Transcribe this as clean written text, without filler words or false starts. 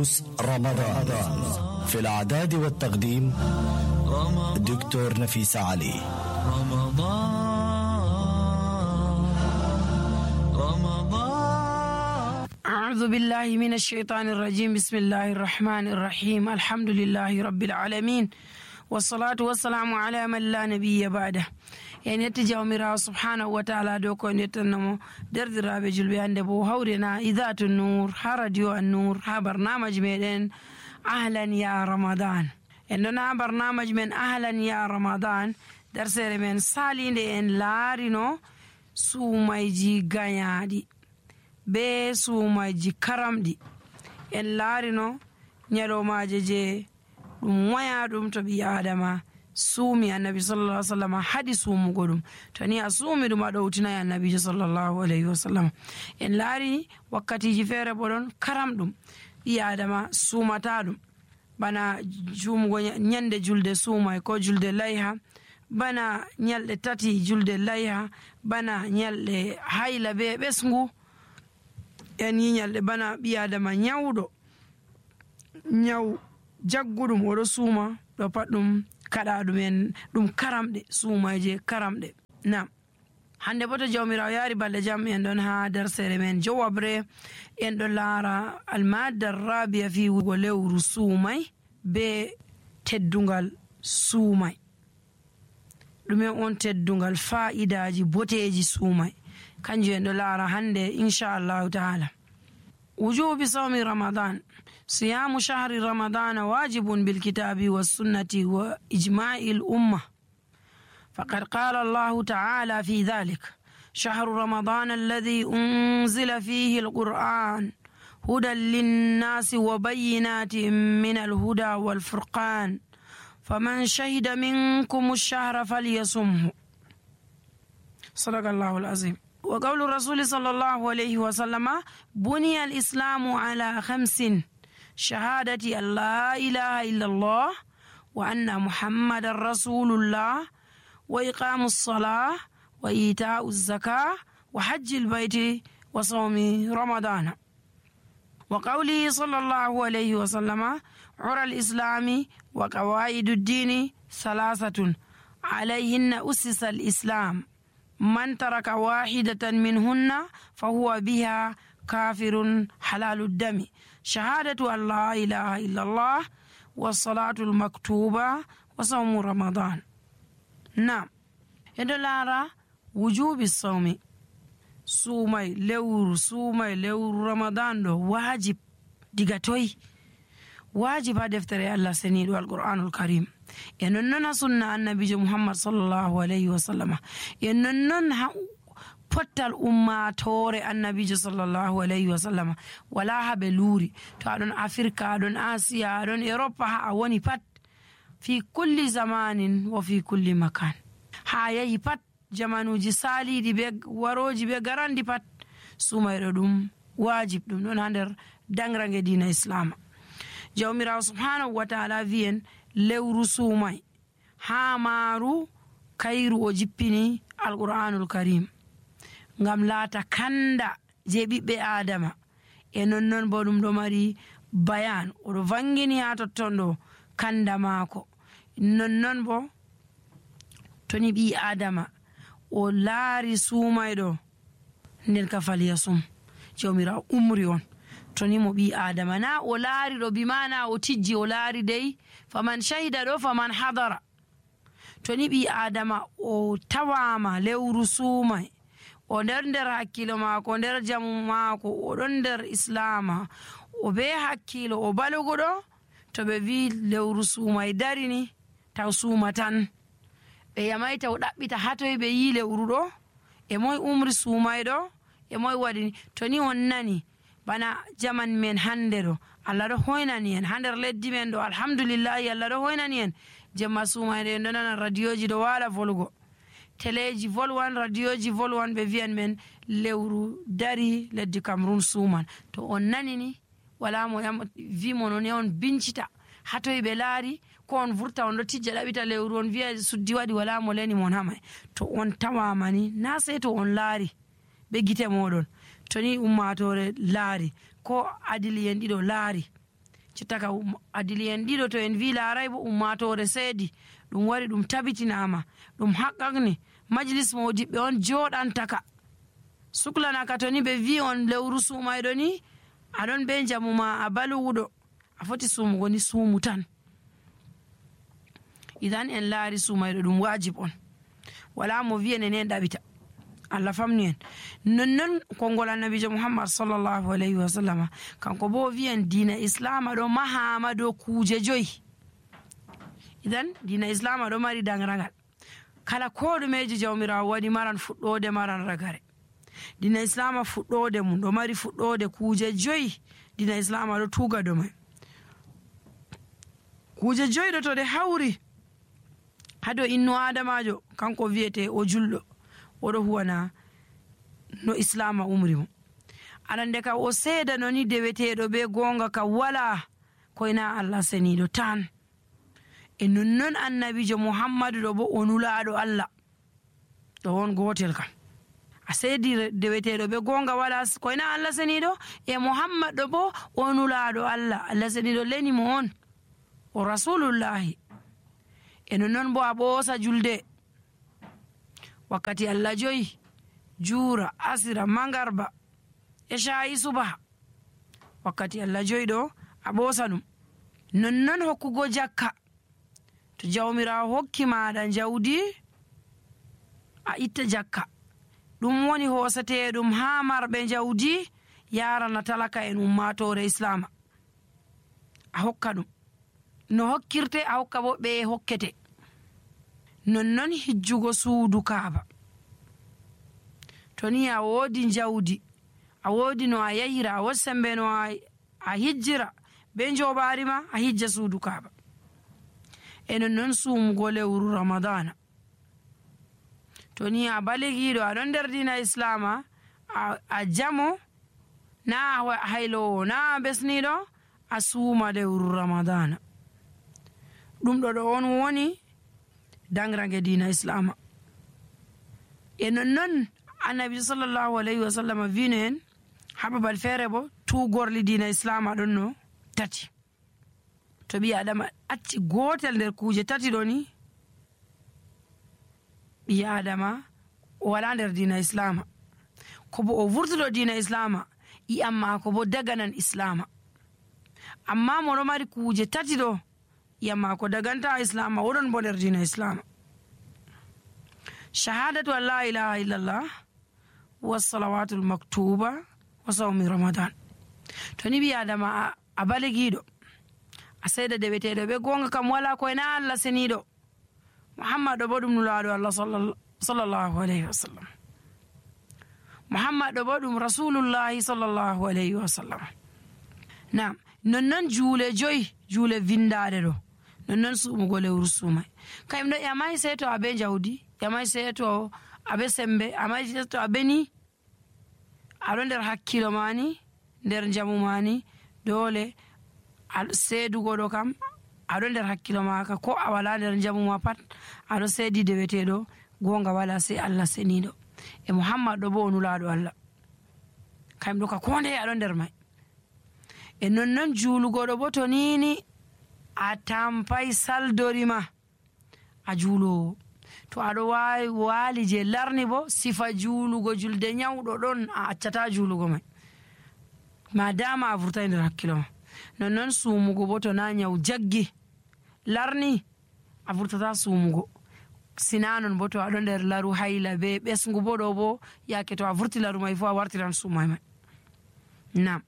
دروس رمضان في الإعداد والتقديم دكتور نفيس علي. أعوذ بالله من الشيطان الرجيم. بسم الله الرحمن الرحيم. الحمد لله رب العالمين والصلاة والسلام على من لا نبي بعده. يعني يتجاومر سبحانه وتعالى دوكو نتنمو دردرابي جلبي عندبو هورنا إذات النور راديو النور برنامج من أهلا يا رمضان. إننا برنامج من أهلا يا رمضان درسر من سالين إن لارينو سوميجي غانيادي be suumaji karamɗi en laarino ñalowmaje je ɗum waya ɗum to ɓi adama suumi annabi sallallahu alaihi wasallam haɗi suumugo ɗum to ni a suumi ɗum a ɗowtinayi annabijo sallallahu alaihi wasallam. en laari wakkatiji feere bo ɗon karamɗum ɓi adama suumata ɗum bana suumugo ñande julde suumay ko julde layha, bana ñalɗe tati julde layha, bana ñalɗe hayla be ɓesngu, en yiñalɗe bana ɓi adama ñawɗo ñaw jagguɗum oɗo suuma ɗo pat ɗum kaɗa ɗumen ɗum karamɗe suumayje karamɗe. nam hande bo to jawmirawo yaari balɗe jam en ɗon ha dersere men jowabre en ɗo laara almadda rabia fi wugo lewru suumay be teddungal suumay. ɗumen on teddungal fa'idaji boteji suumay kanjum en ɗo laara hande inchallahu taala. وجوب صوم رمضان. صيام شهر رمضان واجب بالكتاب والسنة وإجماع الأمة، فقد قال الله تعالى في ذلك: شهر رمضان الذي أنزل فيه القرآن هدى للناس وبينات من الهدى والفرقان فمن شهد منكم الشهر فليصمه. صدق الله العظيم. وقول الرسول صلى الله عليه وسلم: بني الإسلام على 5: شهادة أن لا إله إلا الله وأن محمد رسول الله وإقام الصلاة وإيتاء الزكاة وحج البيت وصوم رمضان. وقوله صلى الله عليه وسلم: عرى الإسلام وقواعد الدين 3 عليهن أسس الإسلام، من ترك واحدة منهن فهو بها كافر حلال الدم، شهادة أن لا إله إلا الله والصلاة المكتوبة وصوم رمضان. نعم يدل وجوب الصوم suumay lewru ramadan ɗo wajib diga toy wajib ha deftere Allah seniɗo alqur'anul karim e nonnon sunna annabijo muhammad sallallahu alaihi wasallam e nonnon ha pottal ummatore annabijo sallallahu alaihi wasallam wala habe luuri to aɗon afrika aɗon asiya aɗon europe ha a woni pat fi kulli zamanin wa fi kulli makan ha yahi pat jamanuji saliɗi be waroji be garandi pat sumayɗo ɗum wajib ɗum ɗon ha nder dangrange dina islama. jawmirawo subhanahu wa ta'ala wi'en lewru suumay ha maaru kayru o jippini alqur'anul karim ngam laata kanda je ɓiɓɓe adama e nonnon bo ɗum ɗo mari bayan oɗo vangini ha totton ɗo kanda maako. nonnon bo toni ɓi adama o laari suumayɗo nden ka falyasum jawmirawo umri on toni mo ɓi adama na o laari ɗo bimana o tijji o laari dey faman shahida ɗo faman hadara. toni ɓi adama o tawama lewru suumay o nder hakkilo maako o nder jamu maako o ɗon nder islama o be hakkilo o balugo ɗo to ɓe wi lewru suumay darini taw suuma tan ɓe yamayta o ɗaɓɓita hatoy ɓe yi lewru ɗo e moy umri suumayɗo e moy waɗini. to ni on nani bana jaman men hande ɗo Allah ɗo hoynani en ha nder leddi men ɗo alhamdulillahi Allah ɗo hoynani en jemma suumayɗo en ɗo nana radioji ɗo waala volugo teleji volwan radioji volwan ɓe wiyan men lewru dari leddi Cameroun suuman. to on nani ni wala mo wimo non on bincita hatoy ɓe laari ko on vurta on ɗo tijja ɗaɓita lewru on wiya suddi waɗi wala mo leni mon hamay. to on tawamani na sey to on laari ɓe gite moɗon to ni ummatore laari ko adili en ɗiɗo laari cittaka adili en ɗiɗo to en wi laaray bo ummatore seedi ɗum wari ɗum tabitinama ɗum haqqaqni majlis modiɓɓe on joɗantaka suklanaka to ni ɓe wi on lewru sumayɗo ni aɗon be jamu ma a baluwuɗo a foti sumugo ni sumu tan. Idan en laari sumayɗo ɗum wajib on wala mo wi'en en ɗaɓita Allah famni en nonnon konngol annabijo Muhammad sallallahu alayhi wa sallam kanko bo wi'en diina islama ɗo mahama dow kuuje 5. idan diina islama ɗo mari dangragal kala ko ɗumeji jawmirawo waɗi maran fuɗɗode maran ragare. Diina islama fuɗɗode mum ɗo mari fuɗɗode kuuje 5 diina islama ɗo tuga dow mai. Kuuje 5 ɗo to ɗe hawri hado innu adamajo kanko wiyete o julɗo oɗo huwana no islama umri mo. Arande ka o seeda no ni deweteɗo be gonga ka wala koyna Allah seniɗo tan. E nonnon annabijo Muhammadu ɗo bo o nulaɗo Allah ɗo won gotel kam a seedi deweteɗo be gonga wala koyna Allah seniɗo e Muhammad ɗo bo o nulaɗo Allah Allah seniɗo leni mo on o rasulullahi. E nonnon bo a ɓoosa julde wakkati Allah 5 juura asira mangarba e shayi subaha wakkati Allah 5 ɗo a ɓoosa ɗum. Nonnon hokkugo jakka to jawmirawo hokki maɗa jawdi a itta jakka ɗum woni hosateɗum ha marɓe jawdi yarana talaka en ummatore islama a hokka ɗum no hokkirte a hokka bo ɓe hokkete. Nonnon hijjugo suudu kaaba to ni a woodi jawdi a woodi no a yahira a woodi sembe no a hijjira be joɓari ma a hijja suudu kaaba. E nonnon sumugo lewru ramadana to ni a baligiɗo aɗon nder dina islama a jamo na haylowo na besniɗo a suuma lewru ramadana ɗum ɗo on woni dangrage dina islama. E nonnon annabi sallallahu alayhi wa sallam vino en ha babal feere bo tugorli dina islama ɗon no 3. to ɓi adama acci gotel nder kuuje 3 ɗo ni ɓi adama o wala nder dina islama ko bo o vurtuɗo dina islama iyam mako bo daganan islama. Amma moɗo mari kuuje 3 ɗo iyam mako daganta islama oɗon bo nder dina islama. Shahadatu an la ilaha illallah wa salawatul maktuba wa sawmi ramadan. to ni ɓi adama a baligiɗo a seeda deweteɗo ɓe gonga kam wala koyna Allah seniɗo Muhammad ɗo bo ɗum nulaɗo Allah sallallahu alayhi wa sallam. Muhammad ɗo bo ɗum rasulullahi sallallahu alayhi wa sallam. Nam nonnon juule 5 juule vindaɗe ɗo nonnon sumugo lewru sumay kayum ɗo yamai sey to abe jawdi yamai sey to abe sembe amai sey to abe ni aɗo nder hakkilo mani nder jamu mani dole seedugo ɗo kam aɗo nder hakkilo maka ko a wala nder jamu ma pat aɗo seedi deweteɗo gonga wala sey Allah seniɗo e Muhammad ɗo bo o nulaɗo Allah kayum ɗo ka konde aɗo nder mai. E nonnon juulugo ɗo bo to nini a tampay saldorima a juulowo to aɗo waali je larni bo sifa juulugo julde nyawɗo ɗon a accata juulugo mai ma dama a vurtai nder hakkilo ma. Nonnon sumugo bo to na nyaw jaggi larni a vurtata sumugo sinanon bo to aɗo nder laru hayla be ɓesgu bo ɗo bo yake to a vurti laru mai fo a wartiran sumay mai. Nam